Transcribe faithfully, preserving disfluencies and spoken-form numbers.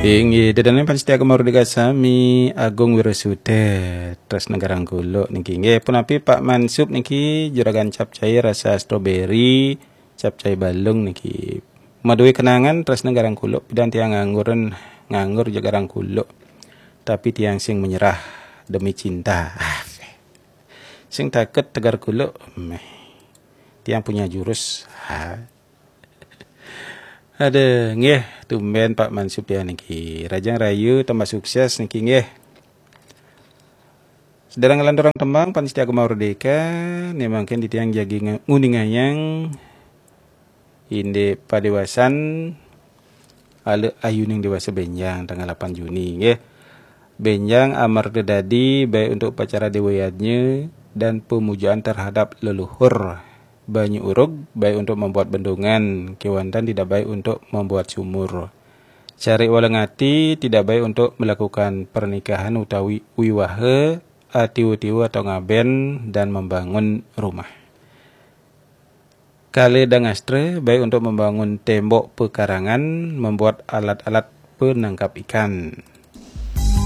Inggih, ida dané pamiarsa Gema Merdeka sami, Agung Wirasuta, Tresna Garang Kuluk niki. Nggih, punapi Pak Mansub niki, juragan capcay rasa stroberi, capcay balung niki. Madué kenangan Tresna Garang Kuluk, pidan tiang ngangguran, nganggur ja Garang Kuluk. Tapi tiang sing menyerah demi cinta. Ah, sing takut tegar kuluk, meh. Tiang punya jurus. Ha. Aduh, nggih, tumben Pak Mansub ya niki. Rajang rayu tambah sukses niki nggih. Sedherek nglanturang tembang pamiarsa Gema Merdeka, né mangkin titiang jagi nge-, nguningayang indik padéwasan Alé Ayuning Déwasa Bénjang tanggal delapan Juni nggih. Bénjang amarga dadi baik untuk upacara déwa yadnya dan pemujaan terhadap leluhur. Banyu urug baik untuk membuat bendungan, kéwanten tidak baik untuk membuat sumur. Cari walengati tidak baik untuk melakukan pernikahan utawi wiwaha, atiwa-tiwa atau ngaben dan membangun rumah. Kala dangastra baik untuk membangun tembok pekarangan, membuat alat-alat penangkap ikan.